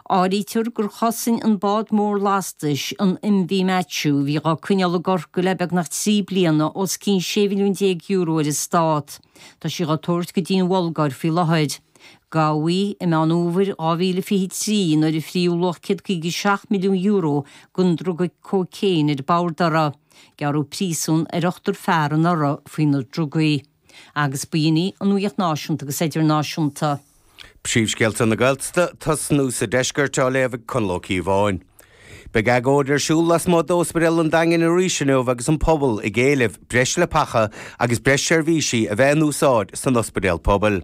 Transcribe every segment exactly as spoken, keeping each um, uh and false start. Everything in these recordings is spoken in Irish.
Áirítear gur chosain an bád mór lastais an MV Matthew bhí á coinneáil i gCorcaigh le beagnach trí bliana os cionn sé mhilliún déag euro ar an stát. Tá sí á tabhairt go dtí an Bhulgáir faoi láthair. Gabhadh í i Meán Fhómhair dhá mhíle fiche trí nuair a fríodh luach céad caoga seacht milliún euro den druga cócaon ar bord uirthi. Gearradh príosún ar ochtar fear anuraidh faoi na drugaí. Agus b'in í an nuacht náisiúnta agus idirnáisiúnta. Príomhscéalta na Gaeltachta tosnú sa deisceart á léamh ag Conall Ó Cíobháin. Beidh agóid ar siúl lasmuigh d'Ospidéal an Daingin arís inniu agus an pobal ag éileamh breis leapacha agus breis seirbhísí a bheith in úsáid san ospidéal pobail.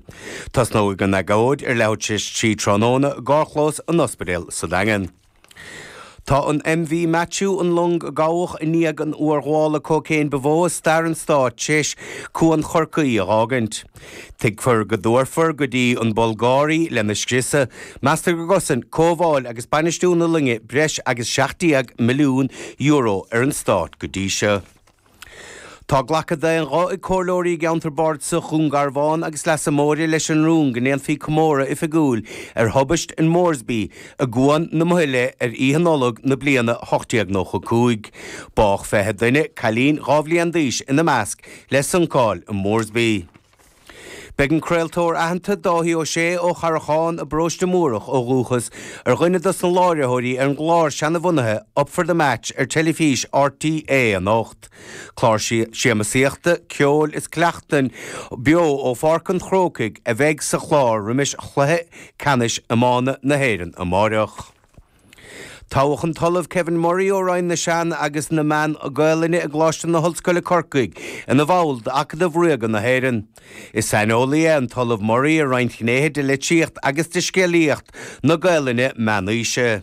Tosnóidh an agóid ar leathuair tar éis trí tráthnóna i gcarrchlós an ospidéil sa Daingean. Tá an MV Matthew an long a gabhadh i ndiaidh an urghabhála cócaon ba mhó i stair an stáit tar éis Cuan Chorcaí a fhágaint. Tuigtear go dtabharfar go dtí an Bhulgáir í lena scriosadh, meastar go gcosain cothabháil agus bainistiú na loinge breis agus seacht déag milliún euro ar an stát go dtí seo. Tá glactha d'aon ghuth ag comhairleoirí i gceantar bardasach Dhún Garbhán agus Leasa Móire leis an rún go ndéanfaí comóradh oifigiúil ar thubaist in Moresby i gCuan na Maoile ar Oíche Nollag na bliana ocht déag nócha cúig. Bádh fiche duine, cailín dhá bhliain d'aois ina measc, le suncáil i Moresby. Beidh an craoltóir aitheanta Dáithí Ó Sé ó Charrachán i bParóiste Múrach ó dhúchas ar dhuine dos na láithreoirí ar an gclár seanbhunaithe Up for the Match ar teilifís RTÉ anocht. Clár siamsaíochta, ceoil is cleachtain beo ó Pháirc an Chrócaigh a bheidh sa chlár roimis chluiche ceannais iomána na hÉireann amárach. Toghadh an tOllamh Kevin Murray ó Roinn na Sean agus na Meán Gaelainne i gColáiste na hOllscoile Corcaigh ina bhall d'Acadamh Ríoga na hÉireann. Is saineolaí é an tOllamh Murray ar roinnt gnéithe de litríocht agus de scéalaíocht na Gaelainne meánaoise.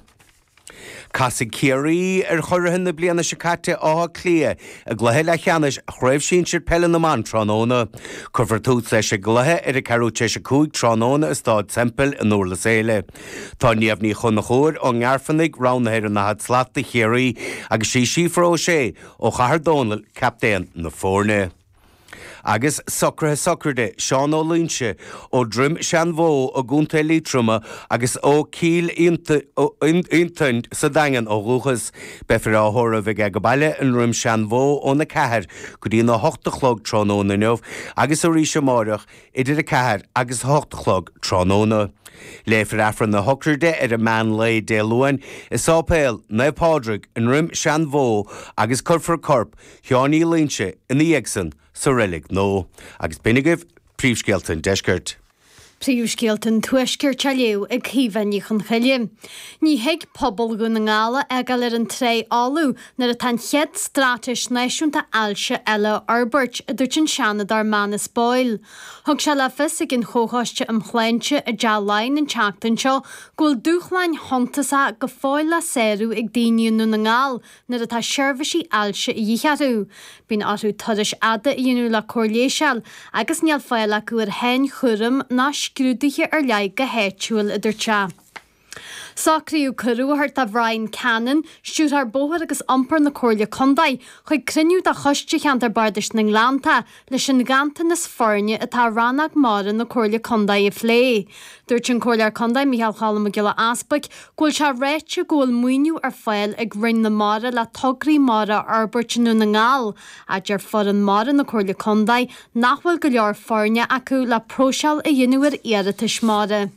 Casfaidh Ciarraí ar churaidh na bliana seo caite Áth Cliath i gcluiche leathcheannais Chraobh Shinsir Peile na mBan tráthnóna. Cuirfear tús leis an gcluiche ar a ceathrú tar éis a cúig tráthnóna i Staid Semple i nDurlas Éile. Tá Niamh Ní Chonchúir ón nGairfeanaigh roghnaithe ar an ndaichead slat do Chiarraí agus sí Síofra O'Shea ó Chathair Dónall captaen na foirne. Agus socruithe sochraide Seán Ó Loinsigh ó Droim Seanbhó i gContae Liatroma agus ó Chill Fhionntain sa Daingean ó dhúchas. Beifear á thórramh aige go baile i nDroim Seanbhó óna ceathair go dtí na hocht a chlog tráthnóna inniu agus arís amárach idir a ceathair agus a hocht a chlog tráthnóna. Léifear Aifreann na sochraide ar an meán lae Dé Luain i Sáipéal Naomh Pádraig i nDroim Seanbhó agus cuirfear corp Sheáin Uí Loinsigh ina dhiaidh san sa reilig nua. Agus b'in agaibh príomhscéalta an deiscirt. Príomhscéalta an Tuaiscirt á léamh ag Caoimhe Ní Chonchoille. Ní thig pobal Dhún na nGall a fhágáil ar an trá fholamh nuair atá an chéad straitéis náisiúnta ailse eile á fhorbairt, a dúirt an Seanadóir Manus Boyle. Thug sé le fios ag an Chomhchoiste um Shláinte i dTeach Laighean an tseachtain seo go bhfuil dúshláin shuntasacha go fóill le sárú ag daoine i nDún na nGall nuair atá seirbhísí ailse a dhíth orthu. Bíonn orthu turais fhada a dhéanamh le cóir leighis a fháil agus níl fáil acu ar shainchúram ná scrúduithe ar leith go háitiúil, a dúirt sé. Socraíodh cuireadh a thabhairt do Bhrian Cannon, stiúrthóir bóthair agus iompair na Comhairle Contae, chuig cruinniú de Choiste Cheantar Bardais na nGleannta leis an nganntanas foirne atá i rannóg mara na Comhairle Contae a phlé. Dúirt an Comhairleoir Contae Micheál Cholm Mac Giolla Easpaig go bhfuil sé ráite go bhfuil maoiniú ar fáil ag Roinn na Mara le tograí mara a fhorbairt i nDún na nGall, ach deir foireann mara na Comhairle Contae nach bhfuil go leor foirne acu le próiseáil a dhéanamh ar iarratais mara.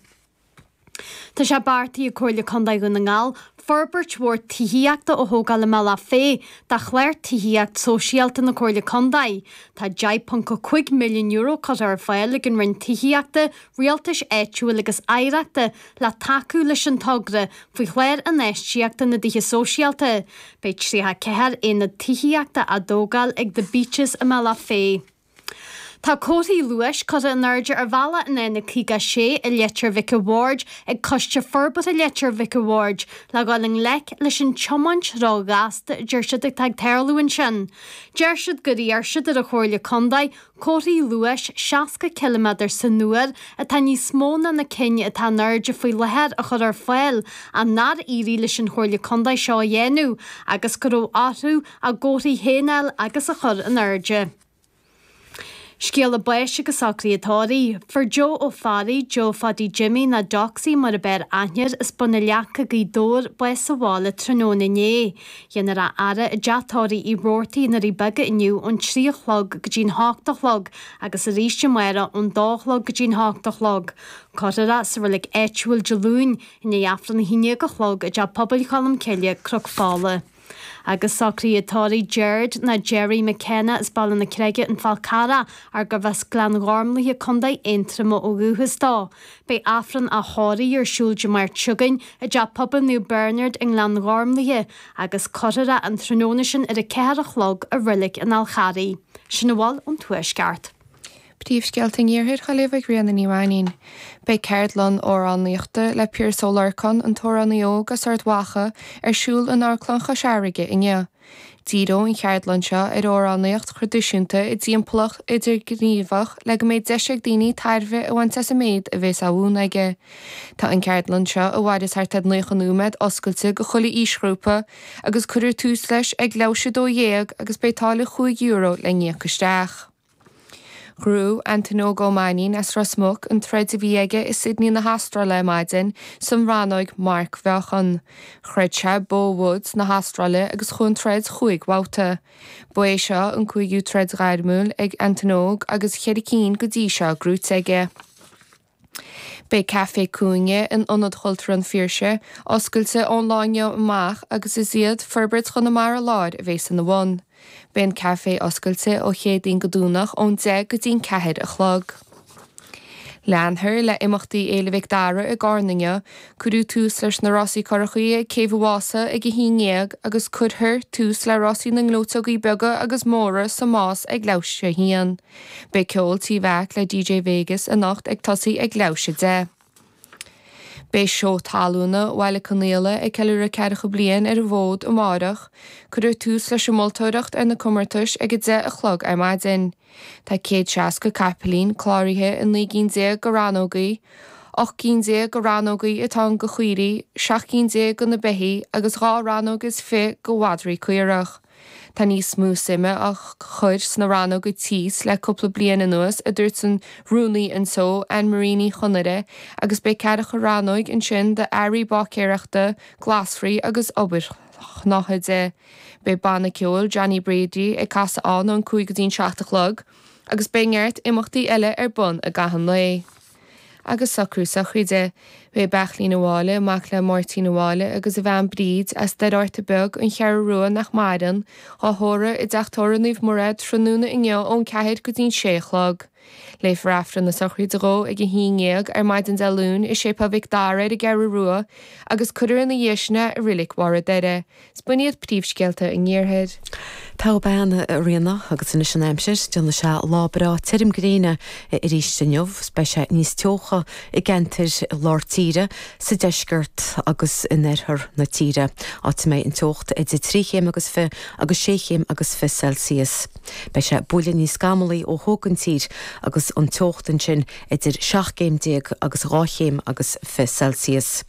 Tá sé beartaithe ag Comhairle Contae Dhún na nGall forbairt mhór tithíochta a thógáil i mBealach Féich do chlár tithíocht sóisialta na Comhairle Contae. Tá deich ponc a cúig milliún euro curtha ar fáil ag an Roinn Tithíochta, Rialtais Áitiúil agus Oidhreachta le tacú leis an togra faoi chlár infheistíochta na dTithe Sóisialta. Beidh tríocha ceathair aonad tithíochta á dtógáil ag The Beaches i mBealach Féich. Tá comharthaí luais curtha in airde ar bhealach an N caoga sé i Leitir Mhic a' Bhaird ag Coiste Forbartha Leitir Mhic a' Bhaird le dhul i ngleic leis an tiomáint róghasta a deir siad atá ag tarlú ansin. Deir siad gur iarr siad ar an Chomhairle Contae comharthaí luais seasca ciliméadar san uair atá níos mó ná na cinn atá in airde faoi láthair a chur ar fáil ach nár éirigh leis an Chomhairle Contae seo a dhéanamh agus go raibh orthu a gcomharthaí féin a fháil agus a chur in airde. Scéala báis agus socruithe tórraimh, Fuair Joe Ó Fearraigh, Joe Phadaí Jimmy nó Doxy mar ab fhearr aithne air, as Bun na Leaca, Gaoth Dobhair, bás sa bhaile tráthnóna inné. Dhéanfar a fhaire i dteach tórraimh Uí Robhartaigh i nDoirí Beaga inniu ón trí a chlog go dtí'n hocht a chlog agus arís amárach ón dó a chlog go dtí'n hocht a chlog. Cuirfear é sa reilig áitiúil Dé Luain i ndiaidh Aifreann a haon déag a chlog i dTeach Pobail Cholm Cille, Cnoc Fola. Agus socruithe tórraimh Gerard nó Gerry McKenna as Baile na Creige, An Fál Carrach, ar gurbh as Gleann Ghormlaithe, Contae Aontroma ó dhúchas dó. Beidh Aifreann a thórraimh ar siúl Dé Máirt seo chugainn i dTeach Pobail Naomh Bernard i nGleann Ghormlaithe agus cuirfear é an tráthnóna sin ar a ceathair a chlog i Reilig an Fháil Charraigh. Sin a bhfuil ón Tuaisceart. Príomhscéalta an Iarthair á léamh ag Ríona Ní Mhainín. Beidh ceardlann amhránaíochta le Piaras Ó Lorcáin, an t-amhránaí óg as Ard Mhacha, ar siúl in Amharclann Chois Fharraige inniu. Díreoidh an cheardlann seo ar amhránaíocht thraidisiúnta i dtimpeallacht idirghníomhach le go mbeidh deis ag daoine tairbhe a bhaint as an méid a bheas á mhúineadh aige. Tá an ceardlann seo, a mhairfeas thart ar naocha nóiméad, oscailte go chuile aoisghrúpa agus cuirfear tús leis ag leathuair théis a dó dhéag agus beidh táille chúig euro le n-íoc isteach. Ghnóthaigh Antain Óg Ó Mainnín as Ros Muc an troid a bhí aige i Sydney na hAstráile ar maidin san rannóg marcmheáchan. Throid sé Bo Woods na hAstráile agus chuaigh an troid chúig bhabhta. Ba é seo an cúigiú troid ghairmiúil ag Antain Óg agus ceithre cinn go dtí seo gnóthaithe aige. Beidh Caifé Cúinne in Ionad Chultúir an Phiarsaigh oscailte ón lá inniu amach agus is iad Forbairt Chonamara Láir a bheas ina bhun. Beidh an caifé oscailte ó Chéadaoin go Domhnach ón deich go dtí'n ceathair a chlog. Leanfar le imeachtaí Fhéile Mhic Dara i gCarna inniu, cuireadh tús leis na rásaí curachaí ag Céibh an Mhása ag a haon déag agus cuirfear tús le rásaí na ngleoiteogaí beaga agus móra sa Más ag leathuair théis a haon. Beidh ceol Tí Mheaic le DJ Vegas anocht ag tosaí ag leathuair théis a deich. Beidh seó talúna Bhaile Conaola ag ceiliúradh ceathracha bliain ar an bhfód amárach. Cuirfear tús leis an moltóireacht ar na comórtais ag a deich a chlog ar maidin. Tá céad seasca capaillín cláraithe i naoi gcinn déag de rannógaí, ocht gcinn déag de rannógaí atá ann do chaoirigh, seacht gcinn déag do na beithígh agus dhá rannóg is fiche do mhadraí caorach. Tá níos mó suime á chur sna rannóga tíos le cúpla bliain anuas, a dúirt an rúnaí an tseó, Anne Marie Ní Chonaire, agus beidh ceathracha rannóg ansin d'earraí báicéireachta, glasraí agus obair shnáthaide. Beidh banna ceoil Johnny Brady ag casadh ann ón cúig go dtí'n seacht a chlog, agus beidh neart imeachtaí eile ar bun i gcaitheamh an lae. Agus socrú sochraide. Beidh Beachlín Ó Mháille, mac le Máirtín Ó Mháille agus a bhean Bríd, as Doire Fhatha Beag, An Cheathrú Rua nach maireann, á thórramh i dteach tórraimh Naomh Mairéad tráthnóna inniu ón ceathair go dtí'n sé a chlog. Léifear Aifreann na sochraide dhó ag a haon dhéag ar maidin Dé Luain i Séipéal Mhic Dara ar an gCeathrú Rua agus cuirfear ina dhiaidh sin é i Reilig Bharr an Doire. Is b'in iad príomhscéalta an Iarthair. Togha bean, a Ríona, agus anois an aimsir, déanfaidh sé lá breá tirim gréine arís inniu, beidh sé níos teocha i gceantair lár tíre, sa deisceart agus in oirthear na tíre, áit a mbeidh an teocht idir trí chéim agus fiche agus sé chéim agus fiche Celsius. Beidh sé buille níos scamallaí ó thuaidh den tír agus an teocht ansin idir seacht gcéim déag agus dhá chéim agus fiche Celsius.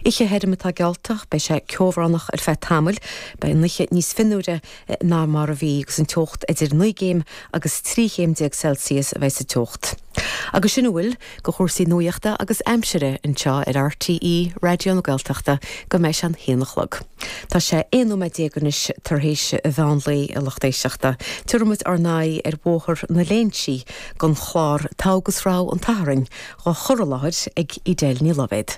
Oíche thirim atá geallta, beidh sé ceobhránach ar feadh tamaill, beidh an oíche níos fionnuaire ná mar a bhí agus an teocht idir naoi gcéim agus trí chéim déag Celsius a bheidh sa teocht. Agus sin a bhfuil de chúrsaí nuachta agus aimsire anseo ar RTÉ Raidió na Gaeltachta go mbeidh sé an haon a chlog. Tá sé aon nóiméad déag anois tar éis mheán lae a lucht éisteachta. Tabharfaidh muid ár n-aghaidh ar Bhóthar na Léinsí don chlár Togha agus Rogha an tSathairn, á chur i láthair ag Edel Ní Loibhéad.